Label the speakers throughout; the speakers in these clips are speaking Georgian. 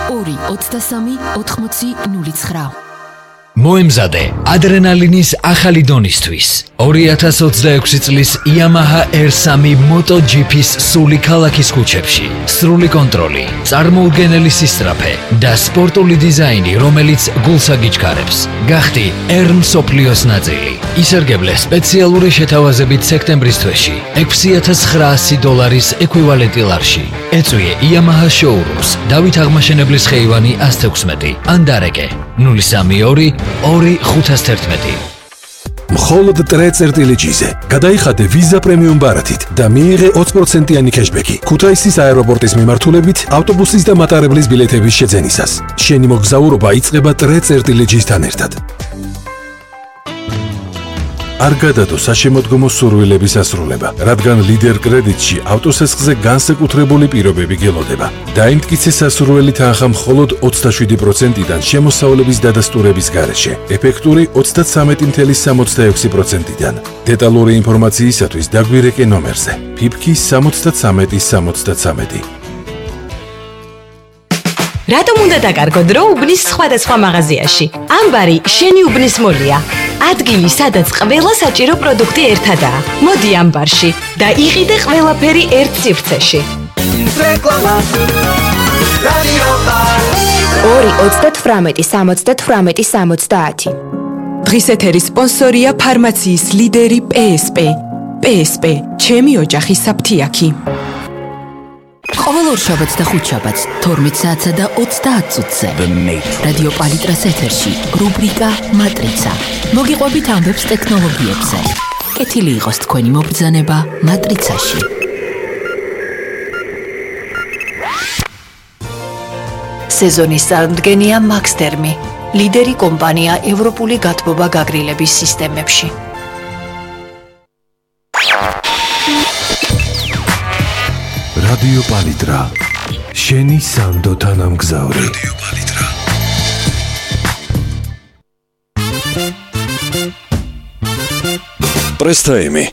Speaker 1: 2-23-80-09.
Speaker 2: მოემზადე ადრენალინის ახალი დონისთვის 2026 წლის Yamaha R3 MotoGP-ს სული ქალაქის ქუჩებში. სრული კონტროლი, წარმოუდგენელი სისწრაფე და სპორტული დიზაინი, რომელიც გულს აგიჩქარებს. გახდი R მსოფლიოს ნაწილი. ისარგებლე სპეციალური შეთავაზებით სექტემბრის თვეში $6,900 ეკვივალენტი ლარში. ეწვიე Yamaha showrooms, დავით აღმაშენებლის ხეივანი 116 ან დარეკე 032 2-511.
Speaker 3: მხოლოდ ტრე-წერტილეჯიზე გადაიხადე ვიზა პრემიუმ ბარათით და მიიღე 20%-იანი კეშბექი ქუთაისის აეროპორტის მიმართულებით ავტობუსის და მატარებლის ბილეთების შეძენისას. შენი მოგზაურობა იწყება ტრე-წერტილეჯისთან ერთად. არ გადადო საშემოდგომო სურვილების ასრულება, რადგან ლიდერ კრედიტში ავტოსესხზე განსაკუთრებული პირობები გელოდება. დაიმტკიცე სასურველი თანხა მხოლოდ 27%-დან შემოსავლების დადასტურების გარეშე, ეფექტური 33.66%-დან. დეტალური ინფორმაციისათვის დაგვირეკე ნომერზე PIPK 73-73.
Speaker 4: რატომ უნდა დაკარგო დრო უბნის სხვადასხვა მაღაზიაში? ამბარი შენი უბნის მოლია. ადგილი, სადაც ყველა საჭირო პროდუქტი ერთადაა. მოდი ამბარში და იყიდე ყველაფერი ერთ სივრცეში. რეკლამა. რადიო პალიტრა. 2-38-70-70. დღის ეთერის სპონსორია ფარმაციის ლიდერი PSP. PSP, ჩემი ოჯახის საფთიაქი.
Speaker 1: ყოველ ორშაბათს და ხუთშაბათს 12 საათსა და 30 წუთზე რადიო პალიტრას ეთერში რუბრიკა მატრიცა. მოგიყვებით ამბებს ტექნოლოგიებზე. კეთილი იყოს თქვენი მობრძანება მატრიცაში. სეზონის წარმდგენია მაქსტერმი, ლიდერი კომპანია ევროპული გათბობა გაგრილების სისტემებში.
Speaker 3: რადიო პალიტრა. შენი სანდო თანამგზავრი. რადიო პალიტრა.
Speaker 5: პრესტაიმი.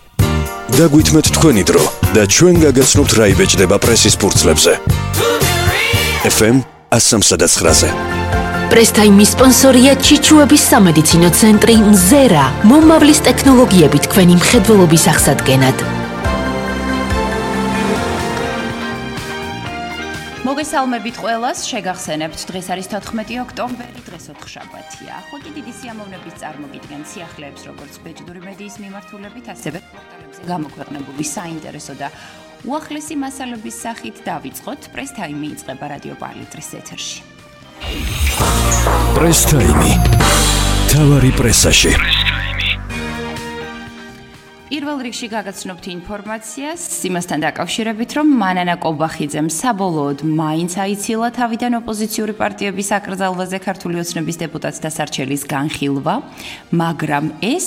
Speaker 5: დაგვითმეთ თქვენი დრო და ჩვენ გაგაცნობთ რა იბეჭდება პრესის ფურცლებზე. FM 103-ზე.
Speaker 1: პრესტაიმის სპონსორია ჩიჩუების სამედიცინო ცენტრი მზერა, მომავლის ტექნოლოგიებით თქვენი მხედველობის აღსადგენად.
Speaker 6: მოგესალმებით ყველას, შეგახსენებთ, დღეს არის 14 ოქტომბერი, დღეს ოთხშაბათია. ხუთი დიდი სიამოვნების წარმოგიდგენ სიახლეებს, როგორც ბეჭდური მედიის მიმართულებით, ასევე პორტალებზე გამოქვეყნებული საინტერესო და უახლესი მასალების სახით დავიწყოთ. პრესტაიმი იწყება რადიო პალიტრის ეთერში.
Speaker 5: პრესტაიმი. თავარი პრესაში.
Speaker 6: პირველ რიგში გაგაცნობთ ინფორმაციას იმასთან დაკავშირებით, რომ მანანა კობახიძემ საბოლოოდ მაინც აიცილა თავიდან ოპოზიციური პარტიების აკრძალვაზე ქართული ოცნების დეპუტატთა სარჩელის განხილვა, მაგრამ ეს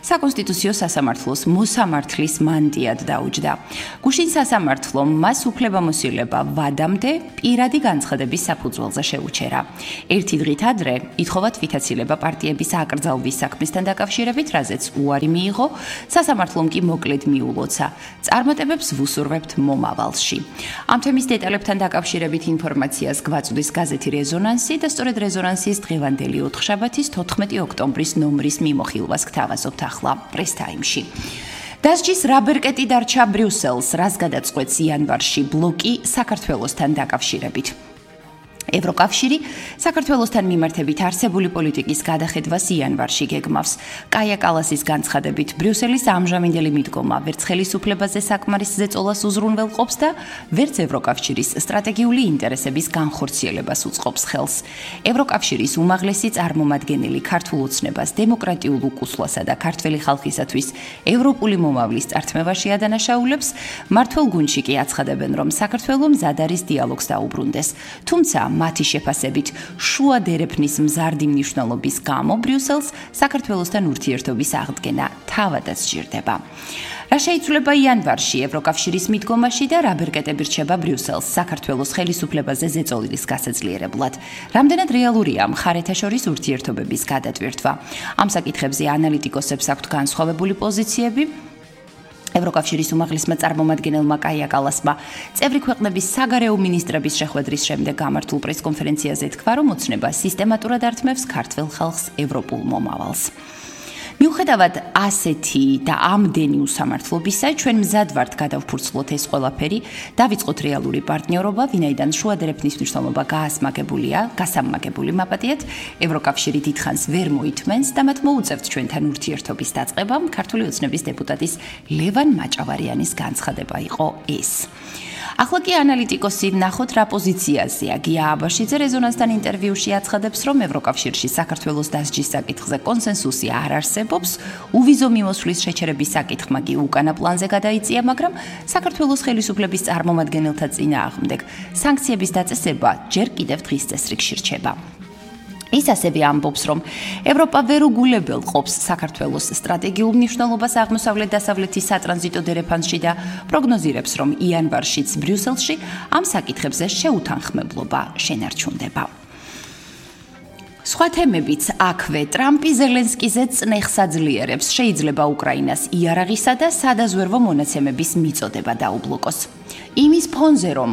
Speaker 6: საკონსტიტუციო სასამართლოს მოსამართლის მანდიად დაუჯდა. გუშინ სასამართლომ მას უფლებამოსილება ვადამდე პირადი განცხადების საფუძველზე შეუჩერა. ერთი დღით ადრე ითხოვა თვითაცილება პარტიების აკრძალვის საქმესთან დაკავშირებით, რაზეც უარი მიიღო სასამართლომ კი მოკლედ მიულოცა. წარმატებებს ვუსურვებთ მომავალში. ამ თემის დეტალებთან დაკავშირებით ინფორმაციას გვაწვდის გაზეთი რეზონანსი და სწორედ რეზონანსის დღევანდელი ოთხშაბათის 14 ოქტომბრის ნომრის მიმოხილვას გთავაზობთ ახლა პრესტაიმში. დასჯის რა ბერკეტი დარჩა ბრიუსელს, რას გადაწყვეტს იანვარში ბლოკი საქართველოსთან დაკავშირებით. ევროკავშირი საქართველოსთან მიმართებით არსებული პოლიტიკის გადახედვას იანვარში გეგმავს. კაია კალასის განცხადებით, ბრიუსელის ამჟამინდელი მიდგომა ვერც ხელისუფლებაზე საკმარის ზეწოლას უზრუნველყოფს და ვერც ევროკავშირის სტრატეგიული ინტერესების განხორციელებას უწყობს ხელს. ევროკავშირის უმაღლესი წარმომადგენელი ქართულ ოცნებას დემოკრატიულ უკუსლასა და ქართველი ხალხისათვის ევროპული მომავლის წართმევაში ადანაშაულებს, მმართველ გუნდში კი აცხადებენ, რომ საქართველო მზად არის დიალოგს დაუბრუნდეს. თუმცა მათი შეფასებით შუა დერეფნის მზარდი მნიშვნელობის გამო ბრიუსელს საქართველოსთან ურთიერთობის აღდგენა თავადაც სჭირდება. რა შეიცვლება იანვარში ევროკავშირის მიდგომაში და რა ბერკეტები რჩება ბრიუსელს საქართველოს ხელისუფლებაზე ზეწოლის გასაძლიერებლად. რამდენად რეალურია მხარეთა შორის ურთიერთობების გადატვირთვა. ამ საკითხებზე ანალიტიკოსებს აქვთ განსხვავებული პოზიციები. ევროკავშირის უმაღლესმა წარმომადგენელმა კაია კალასმა წევრი ქვეყნების საგარეო მინისტრების შეხვედრის შემდეგ გამართულ პრესკონფერენციაზე თქვა, რომ ოცნება სისტემატურად ართმევს ქართველ ხალხს ევროპულ მომავალს. მიუხედავად ასეთი და ამდენი უსამართლობისა, ჩვენ მზად ვართ გადავფურცლოთ ეს ყველაფერი, დავიწყოთ რეალური პარტნიორობა, ვინაიდან შუადერეფნის მნიშვნელობა გასამაგებული მაპატიეთ, ევროკავშირი დიდხანს ვერ მოითმენს და მათ მოუწევთ ჩვენთან ურთიერთობის დაწყებამ. ქართული ოცნების დეპუტატის ლევან მაჭავარიანის განცხადება იყო ეს. ახლა კი ანალიტიკოსი ნახოთ რა პოზიციაზეა. გია აბაშიძე რეზონანსთან ინტერვიუში აცხადებს, რომ ევროკავშირში საქართველოს დასჯის საკითხზე კონსენსუსი არ არსებობს, უვიზო მიმოსვლის შეჩერების საკითხმა კი უკანა პლანზე გადაიწია, მაგრამ საქართველოს ხელისუფლების წარმომადგენელთა წინააღმდეგ სანქციების დაწესება ჯერ კიდევ დღის წესრიგში რჩება. ის ასევე ამბობს, რომ ევროპა ვერ უგულებელ ყოფს საქართველოს სტრატეგიულ მნიშვნელობას აღმოსავლეთ-დასავლეთის სატრანზიტო დერეფანსში და პროგნოზირებს, რომ იანვარშიც ბრიუსელში ამ საკითხებზე შეუთანხმებლობა შენარჩუნდება. სხვა თემებიც აქვე ტრამპი ზელენსკიზე წნეხს აძლიერებს, შეიძლება უკრაინას იარაღისა და სადაზვერვო მონაცემების მიწოდება დაუბლოკოს. იმის ფონზე, რომ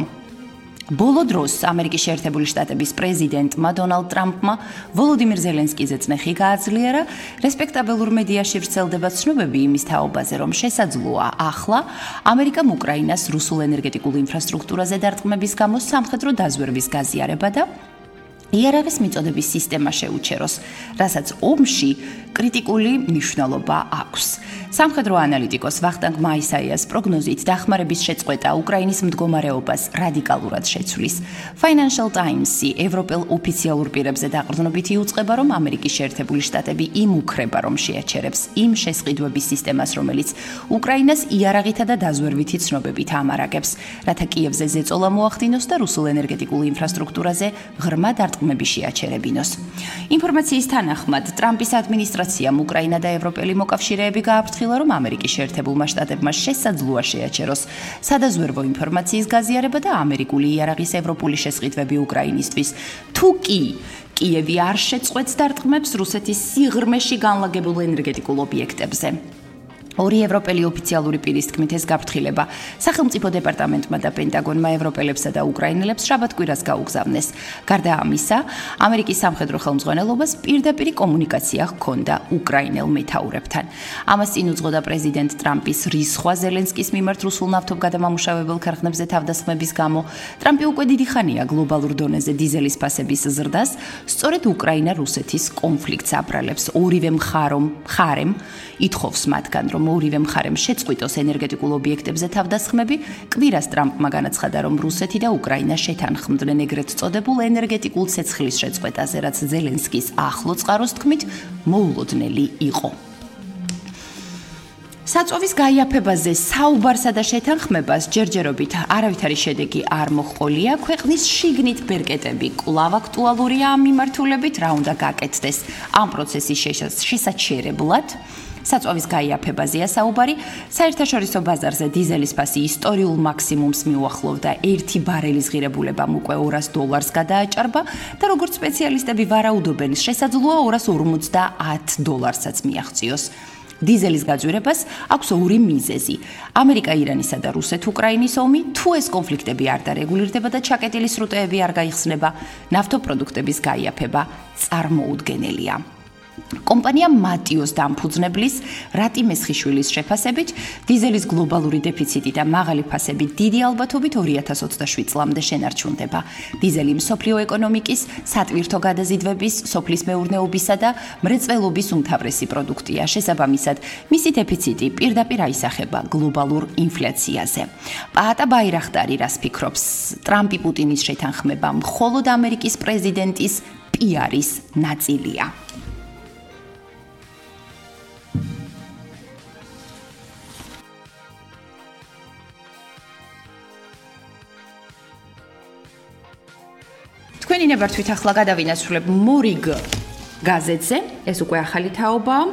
Speaker 6: ბოლო დროს ამერიკის შეერთებული შტატების პრეზიდენტმა დონალდ ტრამპმა ვოლოდიმირ ზელენსკიზე წნეხი გააძლიერა, რესპექტაბელურ მედიაში ვრცელდება ცნობები იმის თაობაზე, რომ შესაძლოა ახლა ამერიკამ უკრაინას რუსულ ენერგეტიკულ ინფრასტრუქტურაზე დარტყმების გამო სამხედრო დაზვერვის გაზიარება და იარაღის მიწოდების სისტემა შეუჩეროს, რასაც ომში კრიტიკული მნიშვნელობა აქვს. სამხედრო ანალიტიკოს ვახტანგ მაისაიას პროგნოზით დახმარების შეწყვეტა უკრაინის მდგომარეობას რადიკალურად შეცვლის. Financial Times-ი ევროპელ ოფიციალურ პირებზე დაყრდნობით იუწყება, რომ ამერიკის შეერთებული შტატები იმუქრება, რომ შეაჩერებს იმ შესყიდვების სისტემას, რომელიც უკრაინას იარაღითა და დაზვერვითი ცნობებით ამარაგებს, რათა კიევზე ზეწოლა მოახდინოს და რუსულ ენერგეტიკულ ინფრასტრუქტურაზე ღრმა დარტყმები შეაჩერებინოს. ინფორმაციის თანახმად, ტრამპის ადმინისტრაციამ უკრაინა და ევროპელი მოკავშირეები გააფრთხილა, რომ ამერიკის შეერთებულმა შტატებმა შესაძლოა შეაჩეროს სადაზვერვო ინფორმაციის გაზიარება და ამერიკული იარაღის ევროპული შესყიდვები უკრაინისთვის. თუ კი კიევი არ შეწყვეტს დარტყმებს რუსეთის სიღრმეში განლაგებულ ენერგეტიკულ ობიექტებზე. ორი ევროპელი ოფიციალური პირის თქმით ეს გაფრთხილება სახელმწიფო დეპარტამენტმა და პენტაგონმა ევროპელებსა და უკრაინელებს შაბათ-კვირას გაუგზავნეს. გარდა ამისა, ამერიკის სამხედრო ხელმძღვანელობას პირდაპირი კომუნიკაცია ჰქონდა უკრაინელ მეთაურებთან. ამას წინ უძღოდა პრეზიდენტ ტრამპის რისხვა ზელენსკის მიმართ რუსულ ნავთობგადამამუშავებელ ქარხნებზე თავდასხმების გამო. ტრამპი უკვე დიდი ხანია გლობალურ დონეზე დიზელის ფასების ზრდას, სწორედ უკრაინა-რუსეთის კონფლიქტს აბრალებს. ორივე მხარემ ითხოვს მათგან, რომ ორივე მხარემ შეწყვიტოს ენერგეტიკულ ობიექტებზე თავდასხმები. კვირას ტრამპმა განაცხადა, რომ რუსეთი და უკრაინა შეთანხმდნენ ეგრეთ წოდებულ ენერგეტიკულ ცეცხლის შეწყვეტაზე, რაც ზელენსკის ახლო წყაროს თქმით მოულოდნელი იყო. საწვავის გაიაფებაზე საუბარსა და შეთანხმებას ჯერჯერობით არავითარი შედეგი არ მოჰყოლია. ქვეყნის შიგნით ბერკეტები კვლავ აქტუალურია ამ მიმართულებით, რა უნდა გაკეთდეს ამ პროცესის შესაჩერებლად. საწვავის გაიაფებაზეა საუბარი. საერთაშორისო ბაზარზე დიზელის ფასი ისტორიულ მაქსიმუმს მიუახლოვდა. 1 ბარელის ღირებულებამ უკვე $200 გადააჭარბა და როგორც სპეციალისტები ვარაუდობენ, შესაძლოა $250-საც მიაღწიოს. დიზელის გაძვირებას აქვს ორი მიზეზი. ამერიკა, ირანისა და რუსეთ-უკრაინის ომი, თუ ეს კონფლიქტები არ დარეგულირდება და ჩაკეტილი სრუტეები არ გაიხსნება, ნავთობპროდუქტების გაიაფება წარმოუდგენელია. კომპანია მატიოს დამფუძნებლის რატი მესხიშვილის შეფასებით, დიზელის გლობალური დეფიციტი და მაღალი ფასები დიდი ალბათობით 2027 წლამდე შენარჩუნდება. დიზელი მსოფლიო ეკონომიკის, სატვირთო გადაზიდვების, სოფლის მეურნეობისა და მრეწველობის უმთავრესი პროდუქტია. შესაბამისად, მისი დეფიციტი პირდაპირ აისახება გლობალურ ინფლაციაზე. პაატა ბაირახტარი რას ფიქრობს? ტრამპი პუტინის შეთანხმება მხოლოდ ამერიკის პრეზიდენტის პიარის ნაწილია. თქვენი ნებართვით ახლა გადავინაცვლებ მორიგ გაზეთზე, ეს უკვე ახალი თაობაა.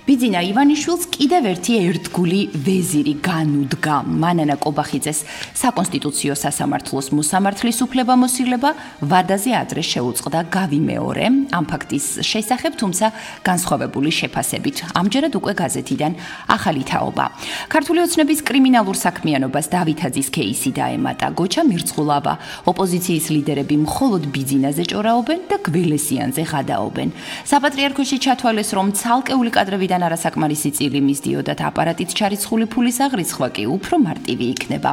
Speaker 6: ბიძინა ივანიშვილს კიდევ ერთი ერთგული ვეზირი განუდგა. მანანა კობახიძეს საკონსტიტუციო სასამართლოს მოსამართლის უფლებამოსილება ვადაზე ადრე შეუწყდა გავიმეორე ამ ფაქტის შესახებ, თუმცა განსხვავებული შეფასებით. ამჯერად უკვე გაზეთიდან ახალი თაობა. ქართული ოცნების კრიმინალურ საქმიანობას დავითაძის кейსი დაემატა. გოჩა მირცხულავა, ოპოზიციის ლიდერები მხოლოდ ბიძინაზე ჭორაობენ და გველესიანზე ღადაობენ. საპატრიარქოში ჩათვალეს, რომ ცალკეული კადრებიდან არასაკმარისი წილი მისდიოდათ აპარატით ჩარიცხული ფულის აღრიცხვა კი უფრო მარტივი იქნება.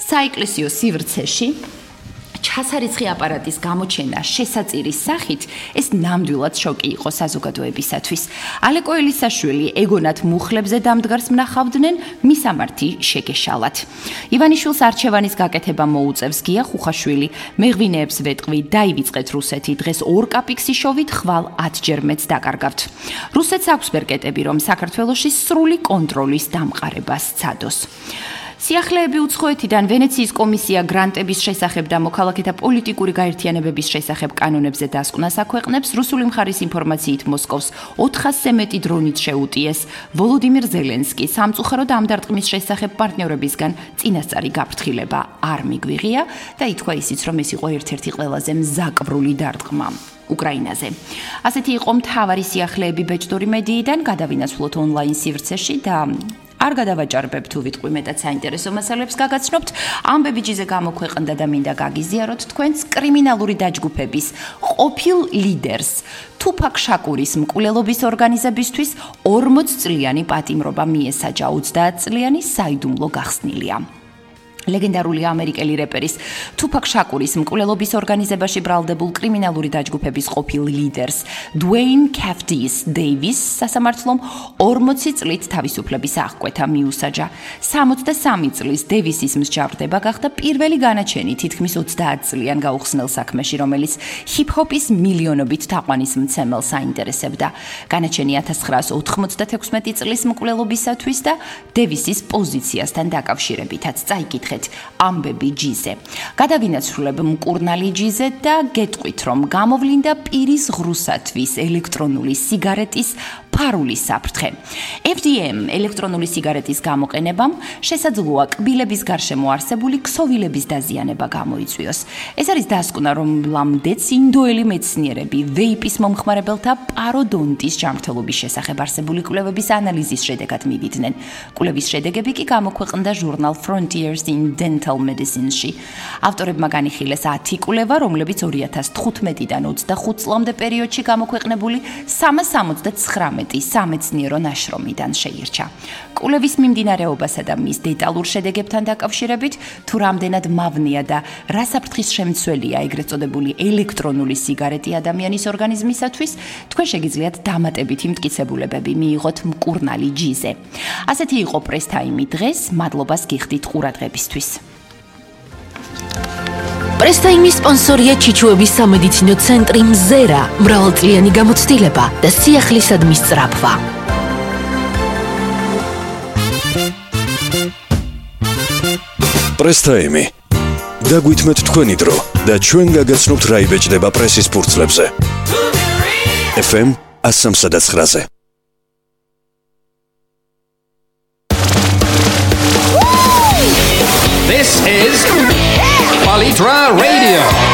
Speaker 6: საეკლესიო სივრცეში ჩასარიცხი აპარატის გამოჩენა შესაწირის სახით ეს ნამდვილად შოკი იყო საზოგადოებისათვის. ალეკო ელისაშვილი ეგონათ მუხლებზე დამდგარს მნახავდნენ, მისამართი შეგეშალათ. ივანიშვილს არჩევანის გაკეთება მოუწევს გია ხუხაშვილი. მეღვინეებს ვეტყვი, დაივიწყეთ რუსეთი, დღეს 2 კაპიქსი შოვით, ხვალ 10-ჯერ მეც დაკარგავთ. რუსეთს აქვს ბერკეტები, რომ საქართველოში სრული კონტროლის დამყარებას სცადოს. სიახლეები უცხოეთიდან ვენეციის კომისია გრანტების შესახებ და მოქალაქეთა პოლიტიკური გაერთიანებების შესახებ კანონებზე დასკვნას აქვეყნებს. რუსული მხარის ინფორმაციით მოსკოვს 400-ზე მეტი დრონით შეუტიეს. ვოლოდიმირ ზელენსკი სამწუხაროდ ამ დარტყმის შესახებ პარტნიორებისგან წინასწარი გაფრთხილება არ მიგვიღია და ითქვა ისიც, რომ ეს იყო ერთ-ერთი ყველაზე მზაკვრული დარტყმა უკრაინაზე. ასეთი იყო მთავარი სიახლეები ბეჭდური მედიიდან, გადავინაცვლოთ ონლაინ სივრცეში და არ გადავაჭარბებ თუ ვიტყვი მეტად საინტერესო მასალებს გაგაცნობთ. ამბები ჯიზე გამოქვეყნდა და მინდა გაგიზიაროთ თქვენს კრიმინალური დაჯგუფების ყოფილ ლიდერს თუფაკ შაკურის მკვლელობის ორგანიზებისთვის 40 წლიანი პატიმრობა მიესაჯა. 30 წლიანი საიდუმლო გახსნილია. ლეგენდარული ამერიკელი რეპერის თუფაკ შაკურის მკვლელობის ორგანიზებაში ბრალდებულ კრიმინალური დაჯგუფების ყოფილ ლიდერს დუეინ კეფტის დეივის სასამართლომ 40 წლით თავისუფლების აღკვეთა მიუსაჯა. 63 წლის დევისის მსჯავრდება გახდა პირველი განაჩენი თითქმის 30 წლიან გაუხსნელ საქმეში, რომელიც ჰიპ-ჰოპის მილიონობით თაყვანისმცემელს აინტერესებდა. განაჩენი 1996 წლის მკვლელობისათვის და დევისის პოზიციასთან დაკავშირებითაც წაიკითხა ამბები ჯიზე. გადავინაცვლებ მკურნალი ჯიზე და გეტყვით, რომ გამოვლინდა პირის ღრუსათვის ელექტრონული სიგარეტის ფარული საფრთხე. FDM ელექტრონული სიგარეტის გამოყენებამ შესაძლოა კბილების გარშემო არსებული ქსოვილების დაზიანება გამოიწვიოს. ეს არის დასკვნა, რომ ლამდეც ინდოელი მეცნიერები ვეიპის მომხმარებელთა პაროდონტის ჯანმრთელობის შესახებ არსებული კვლევების ანალიზის შედეგად მივიდნენ. კვლევის შედეგები კი გამოქვეყნდა ჟურნალ Frontiers in Dental Medicine-ში. ავტორებმა განიხილეს 10 კვლევა, რომლებიც 2015-დან 25 წლამდე პერიოდში გამოქვეყნებული 369 სამეცნიერო ნაშრომიდან შეირჩა. კვლევის მიმდინარეობასა და მის დეტალურ შედეგებთან დაკავშირებით, თუ რამდენად მავნეა და რა საფრთხის შემცველია ეგრეთ წოდებული ელექტრონული სიგარეტი ადამიანის ორგანიზმისათვის, თქვენ შეგიძლიათ დამატებითი მტკიცებულებები მიიღოთ მკურნალი ჯიზე. ასეთი იყო პრესტაიმი დღეს, მადლობას გიხდით ყურადღებისთვის.
Speaker 1: პრესტაიმის სპონსორია ჩიჩუების სამედიცინო ცენტრი მზერა, მრავალწლიანი გამოცდილება და სიახლისადმის სწრაფვა.
Speaker 5: პრესტაიმი. დაგვითმეთ თქვენი დრო და ჩვენ გაგაცნობთ რა იბეჭდება პრესის ფურცლებზე. FM 103-ზე.
Speaker 2: This is Palitra Radio.